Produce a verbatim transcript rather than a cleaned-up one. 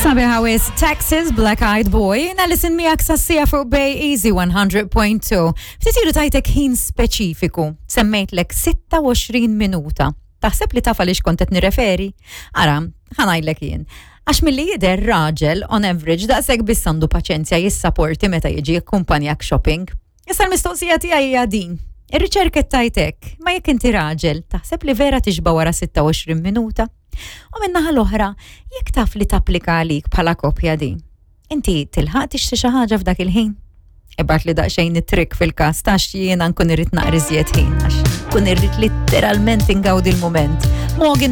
Sabiħa wisq, Texas Black Eyed Boy, na listen miegħek sassija fuq Bay Easy one hundred point two. Ftit ilu tajtek ħin speċifiku, semmejtlek sitta u għoxrin minuta. Taħseb li taf għaliex kont qed nirreferi? Ara, ħa ngħidlek jien. Għax milli jidher raġel, on average, daqshekk biss għandu paċenzja jissaporti meta jiġi akkumpanjak shopping. Issa l-mistoqsija tiegħi hija din. Ir-riċerka tajtek, ma jekk inti raġel, taħseb li vera tixba wara sitta u għoxrin minuta? U min-naħa l-oħra, jekk taf li tapplika għalik bħala kopja din, inti tilħaq tixtri xi ħaġa f'dak il-ħin? Ibgħatli daqsxejn it-trick fil-każ tax jiena nkun irrid naqra iżjed ħin għax kun irrid literalment ingawdi l-mument. Morgan.